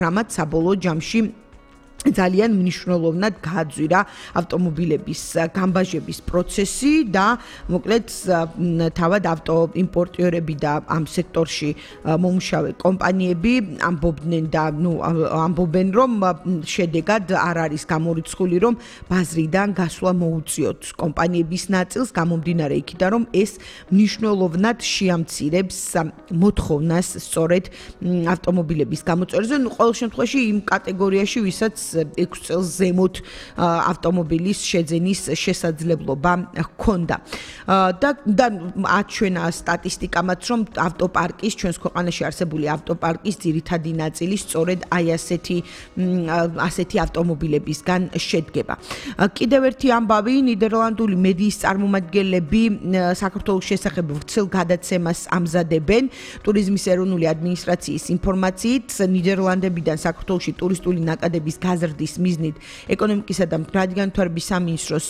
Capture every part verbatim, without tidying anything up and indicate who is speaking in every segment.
Speaker 1: რამაც საბოლოო ჯამში ძალიან მნიშვნელოვნად გააძვირა ავტომობილების გამბაჟების პროცესი და მოკლედ თავად ავტოიმპორტიორები და ამ სექტორში მომუშავე კომპანიები ამბობდნენ და ნუ ამბობენ რომ შედეგად არ არის გამორიცხული რომ ბაზრიდან გასვლა მოუწიოთ კომპანიების ნაწილს გამომდინარე იქიდან რომ ეს მნიშვნელოვნად შეამცირებს მოთხოვნას სწორედ ავტომობილების გამოწვევაზე ნუ ყოველ შემთხვევაში იმ კატეგორიაში ვისაც ექვსი წელს ზემოთ ავტომობილის შეძენის შესაძლებლობა ჰქონდა. და და აჩვენა სტატისტიკამაც რომ ავტოპარკის ჩვენს ქვეყანაში არსებული ავტოპარკის ძირითადი ნაწილი სწორედ აი ასეთი ასეთი ავტომობილებისგან შედგება. კიდევ ერთი ამბავი ნიდერლანდული მედიის წარმომადგენლები საქართველოს შესახებ ვრცელ გადაცემას ამზადებენ ტურიზმის ეროვნული ადმინისტრაციის ინფორმაციით ნიდერლანდებიდან საქართველოში ტურისტული ნაკადების გაზრდის მიზნით ეკონომიკისა და მდგრადი განვითარების სამინისტროს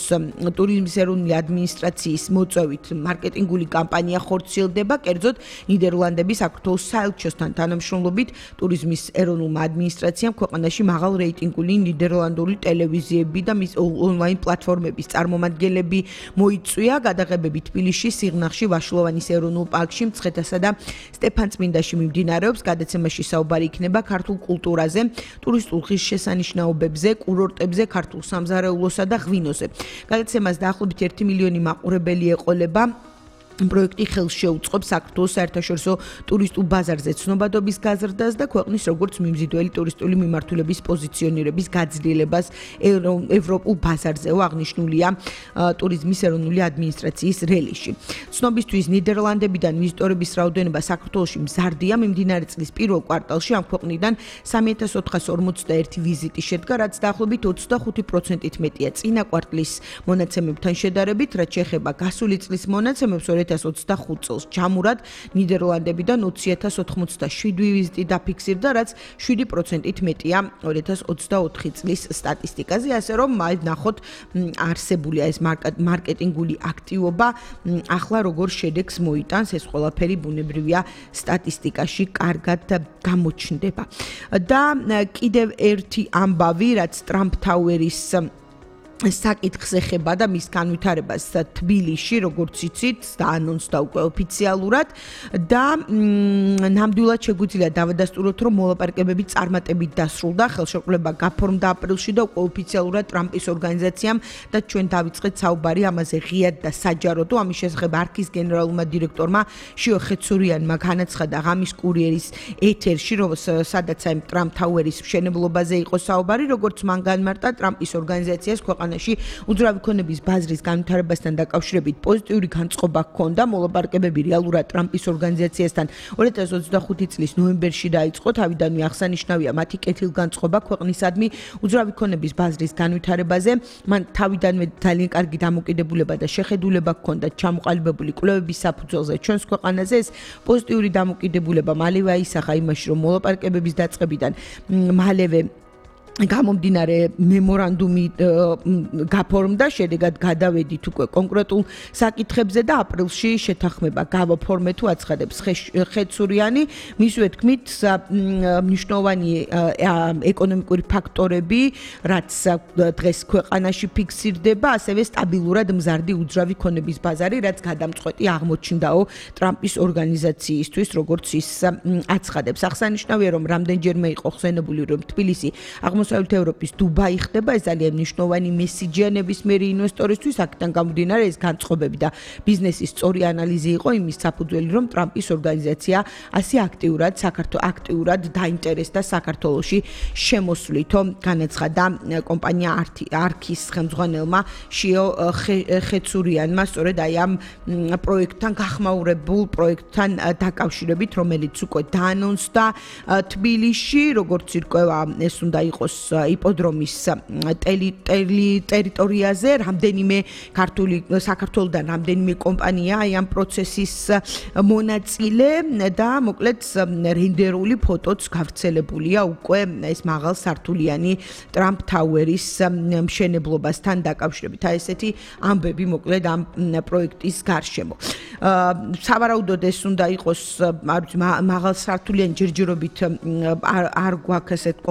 Speaker 1: ტურიზმის ეროვნული ადმინისტრაციის მოწვევით მარკეტინგული კამპანია ხორციელდება კერძოდ ნიდერლანდების საქართველოს საელჩოსთან თანამშრომლობით ტურიზმის ეროვნულმა ადმინისტრაციამ ქვეყანაში მაღალ რეიტინგული ნიდერლანდური ტელევიზიები და მის ონლაინ პლატფორმების წარმომადგენლები მოიწვია გადაღებები თბილისში სიღნაღში ვაშლოვანის ეროვნულ პარკში მცხეთასა და სტეფანწმინდაში მიმდინარეობს გადაცემაში საუბარი იქნება ქართულ კულტურაზე ტურისტულ ღირსშესანიშნაობებზე კურორტებზე ქართულ სამზარეულოსა და ღვინოზე გადაცემას დაახლოებით ერთი მილიონი მაყურებელი ეყოლება პროექტი ხელს შეუწყობს საქართველოს საერთაშორისო ტურისტულ ბაზარზე ცნობადობის გაზრდას და ქვეყნის როგორც მიმზიდველი ტურისტული მიმართულების პოზიციონირების გაძლიერებას ევროპულ ბაზარზეო აღნიშნულია ტურიზმის ეროვნული ადმინისტრაციის რელიზში. ცნობისთვის ნიდერლანდებიდან ვიზიტორების რაოდენობა საქართველოში მზარდია მიმდინარე წლის პირველ კვარტალში ამ ქვეყნიდან სამი ათას ოთხას ორმოცდაერთი ვიზიტი შედგა, რაც დაახლოებით ოცდახუთი პროცენტით მეტია წინა კვარტლის მონაცემებთან შედარებით, რაც შეეხება გასული წლის მონაცემებს ორი ათას ოცდახუთ წელს ჯამურად ნიდერლანდებიდან ოცი ათას ოთხმოცდაშვიდი ვიზიტი დაფიქსირდა, რაც შვიდი პროცენტით მეტია ორი ათას ოცდაოთხი წლის სტატისტიკაზე, ასე რომ ნახოთ არსებულია ეს მარკეტინგული აქტივობა ახლა როგორ შედეგს მოიტანს, ეს ყველაფერი ბუნებრივია სტატისტიკაში კარგად გამოჩნდება. და კიდევ ერთი ამბავი, რაც ტრამპ თაუერის საკითხს ეხება და მის განვითარებას თბილისში, როგორც იცით, დაანონსდა უკვე ოფიციალურად და ნამდვილად შეგვიძლია დავადასტუროთ, რომ მოლაპარაკებები წარმატებით დასრულდა, ხელშეკრულება გაფორმდა აპრილში და უკვე ოფიციალურად ტრამპის ორგანიზაციამ და ჩვენ დავიწყეთ საუბარი ამაზე ღიად და საჯაროდ. ამის შესახებ არქის გენერალურმა დირექტორმა შიო ხეცურიანმა განაცხადა ღამის კურიერის ეთერში, რომ სადაც აი ტრამპ თაუერის მშენებლობაზე იყო საუბარი, როგორც მან განმარტა ტრამპის ორგანიზაციას ქვეყანა უძრავი ქონების ბაზრის განვითარებასთან დაკავშირებით პოზიტიური განწყობა ჰქონდა. მოლაპარაკებები რეალურად ტრამპის ორგანიზაციასთან ორი ათას ოცდახუთი წლის ნოემბერში დაიწყო. თავიდანვე აღსანიშნავია მათი კეთილგანწყობა ქვეყნისადმი უძრავი ქონების ბაზრის განვითარებაზე. მან თავიდანვე ძალიან კარგი დამოკიდებულება და შეხედულება ჰქონდა ჩამოყალიბებული კვლევების საფუძველზე ჩვენს ქვეყანაზე. ეს პოზიტიური დამოკიდებულება მალევე აისახა იმაში, რომ მოლაპარაკებების დაწყებიდან მალევე გამომდინარე მემორანდუმი გაფორმდა, შედეგად გადავედით უკვე კონკრეტულ საკითხებზე და აპრილში შეთანხმება გავაფორმე თუ აცხადებს ხეცურიანი. მისივე თქმით, მნიშვნელოვანი ეკონომიკური ფაქტორები, რაც დღეს ქვეყანაში ფიქსირდება, ასევე სტაბილურად მზარდი უძრავი ქონების ბაზარი, რაც გადამწყვეტი აღმოჩნდაო ტრამპის ორგანიზაციისთვის, როგორც ის აცხადებს. აღსანიშნავია, რომ რამდენჯერმე იყო ხსენებული, რომ თბილისი აღმოსავლეთ ევროპის დუბაი ხდება, ეს ძალიან მნიშვნელოვანი მესიჯია ნებისმიერი ინვესტორისთვის, აქედან გამომდინარე ეს განწყობები და ბიზნესის სწორი ანალიზი იყო იმის საფუძველი, რომ ტრამპის ორგანიზაცია ასე აქტიურად საქართველოს აქტიურად დაინტერესდა საქართველოში შემოსვლითო, განაცხადა კომპანია არქის ხელმძღვანელმა შიო ხეცურიანმა, სწორედ აი ამ პროექტთან გახმაურებულ პროექტთან დაკავშირებით, რომელიც უკვე დაანონსდა თბილისში, როგორც ირკვევა, ეს უნდა იყოს იპოდრომის ტერიტორიაზე, რამდენიმე ქართული საქართველოსთან რამდენიმე კომპანია აი ამ პროცესის მონაწილე და მოკლედ რენდერული ფოტოც გავრცელებულია უკვე ეს მაღალ სართულიანი ტრამპ თაუერის მშენებლობასთან დაკავშირებით. აი ესეთი ამბები მოკლედ ამ პროექტის გარშემო. სავარაუდოდ ეს უნდა იყოს არ ვიცი მაღალსართულიანი ჯერჯერობით არ არ გვაქვს ესეთ